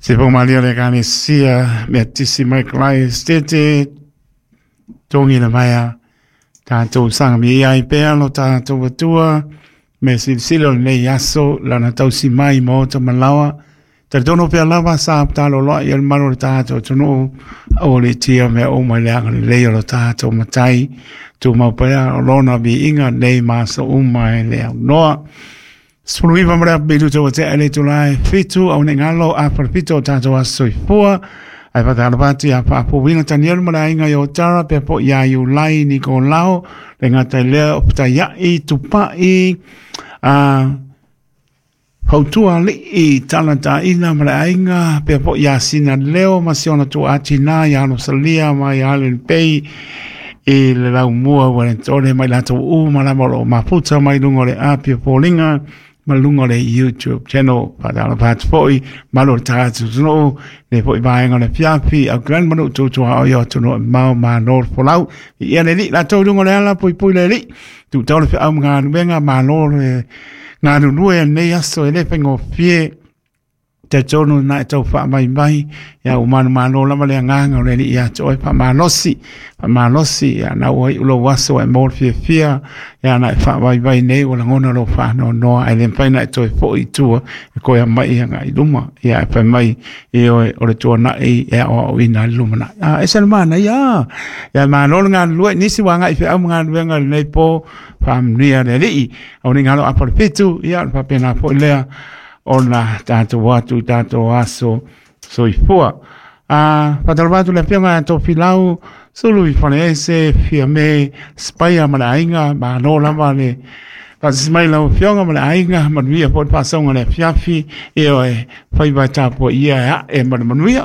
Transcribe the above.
Se faumalia le Ekalesia Metisi mai Christ tete togi le vaea tatou saga ai pea lo tatou Atua me silasila o lenei aso lana tausi mai ma ota malaoa. Talitonu pea lava sa taloloa ia le malo o le tatou atunuu aua le tia mea uma i le agalelei o lo tatou Matai tumau pea o lona viiga nei ma aso uma e le aunoa. 19 ma le apu ua tea le itula e 7 au nei galo a palapito o tatou aso soifua. Ae faatalofa atu ia Faafouina Tanielu ma le aiga i Otara pea po ia Iulai Nikolao le gata i lea o Petaiai Tupai a fautua alii talataina ma le aiga pea po ia Sina Leo ma si ona tuaatinā ia Rosalia ma ia Allen Pei i le laumua ua le tole mai latou uma lava o loo mafuta mai luga o le api o foliga ma luga o le YouTube channel. Faatalofa atu foi malo o le tagata atunuu le foi vaega o le afiafi au kalani ma nuu tutua o ia atunuu e mao malo le folau ia le alii latou i luga o le ala puipui le alii tuutau le feau ma galuega malo le galulue lenei aso e le faigofie talitonu na e tau faamaimai ia ua manumalo lava le agaga o le alii ia te oe faamalosi faamalosi ia na ua iu lou aso e mo le fiafia ia na e faavaivai nei ua lagona lou faanoanoa ae le mafai na e toe foi i tua e koe aumai agai i luma ia e fai mai e oe o le tuanai e aoaoina ai le lumanai a ese le manaia ia malo le galulue nisi ua agai feau ma galuega i lenei po faamanuia le alii au nei galo apa le fitu ia faapena foi lea ona tatou atu i tatou aso soifua. A faatalofa atu le afioga ia Tofilau Sulu i Faleese Fiame Spaia ma le aiga malo lava le faasisi mai lau afioga ma le aiga manuia foi le faasauga le afiafi e oe faiva e tapuaia e ae ma le manuia.